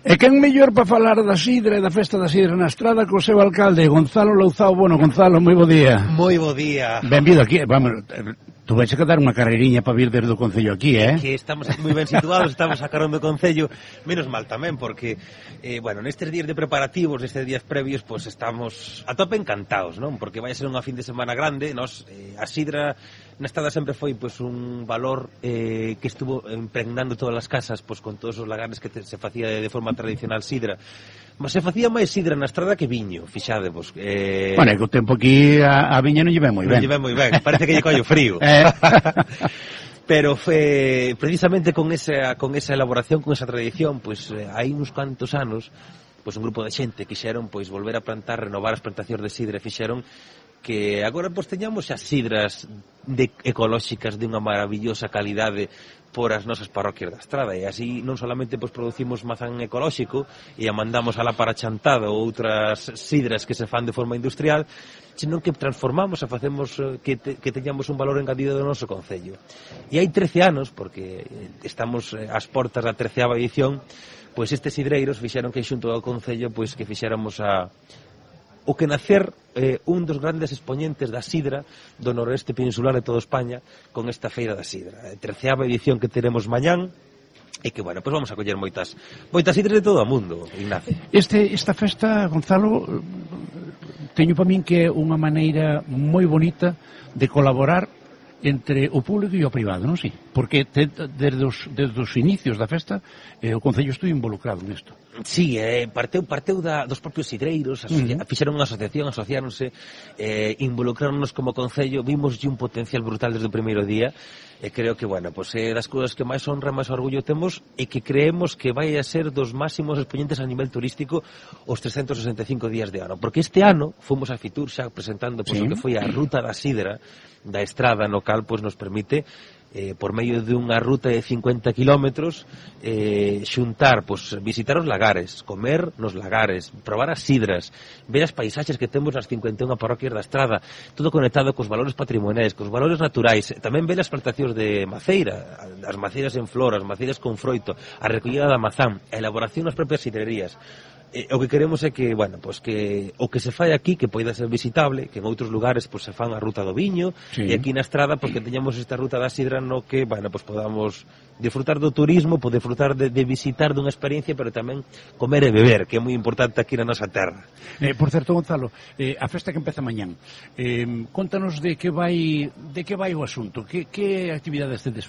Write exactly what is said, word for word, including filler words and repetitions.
E quen mellor para falar da sidra e da festa da sidra na Estrada co seu alcalde, Gonzalo Louzao. Bueno, Gonzalo, moi bo día. Moi bo día. Benvido aquí, vamos, tú vais a dar unha carreiriña para vir desde o Concello aquí, eh? Que estamos aquí moi ben situados, estamos a carón do Concello, menos mal tamén, porque, eh, bueno, nestes días de preparativos, nestes días previos, pues estamos a tope encantados, non? Porque vai a ser unha fin de semana grande, nos, eh, a sidra na Estrada sempre foi, pues, un valor eh, que estuvo impregnando todas as casas, pues, con todos os lagares que te, se facía de, de forma tradicional sidra. Mas se facía máis sidra na Estrada que viño, fixadevos. Eh... Bueno, é que o tempo aquí a, a viña non lle ven moi ben. Non lle ven moi ben, parece que lle collo frío. eh. Pero fe, precisamente con esa, con esa elaboración, con esa tradición, pues eh, hai uns cantos anos, pues un grupo de xente quixeron pois volver a plantar, renovar as plantacións de sidra, fixeron que agora pois teñamos as sidras de ecolóxicas de unha maravillosa calidade por as nosas parroquias da Estrada, e así non solamente pois producimos mazán ecolóxico e a mandamos alá para Chantada ou outras sidras que se fan de forma industrial, senón que transformamos e facemos que, te, que teñamos un valor engadido do noso concello. E hai trece anos, porque estamos ás portas da treceava edición, pois estes sidreiros fixeron que xunto ao concello pois que fixéramos a o que nacer eh, un dos grandes expoñentes da sidra do noroeste peninsular de toda España con esta feira da sidra. A treceava edición que teremos mañán, e que, bueno, pois vamos a coller moitas moitas sidras de todo o mundo, Ignacio. Este, esta festa, Gonzalo, teño para min que é unha maneira moi bonita de colaborar entre o público e o privado, non si? Porque te, desde, os, desde os inicios da festa eh, o Concello estuvo involucrado nisto. Sí, eh, parteu, parteu da, dos propios sidreiros, asocia, uh -huh. fixeron unha asociación, asociáronse, eh, involucráronos como Concello, vimos un potencial brutal desde o primeiro día, e creo que, bueno, pues, é eh, das cousas que máis honra, máis orgullo temos, e que creemos que vai a ser dos máximos exponentes a nivel turístico os trescentos sesenta e cinco días de ano, porque este ano fomos a Fitur xa presentando pues, sí. o que foi a Ruta da Sidra da Estrada, no cal pues, nos permite eh, por medio de unha ruta de cincuenta kilómetros eh, xuntar, pues, visitar os lagares, comer nos lagares, probar as sidras, ver as paisaxes que temos nas cincuenta e unha parroquias da Estrada, todo conectado cos valores patrimoniais, cos valores naturais, tamén ver as plantacións de maceira, as maceiras en flor, as maceiras con froito, a recollida da mazán, a elaboración das propias sidrerías. Eh, o que queremos é que, bueno, pues que o que se fai aquí que poida ser visitable, que en outros lugares pues, se fan a ruta do viño, sí. E aquí na Estrada porque pues, teñamos esta ruta da sidra no que, bueno, pues podamos disfrutar do turismo, poder disfrutar de, de visitar dunha experiencia, pero tamén comer e beber, que é moi importante aquí na nosa terra. Eh, por certo, Gonzalo, eh, a festa que empeza mañán, eh, contanos de que vai de que vai o asunto, que, que actividades tedes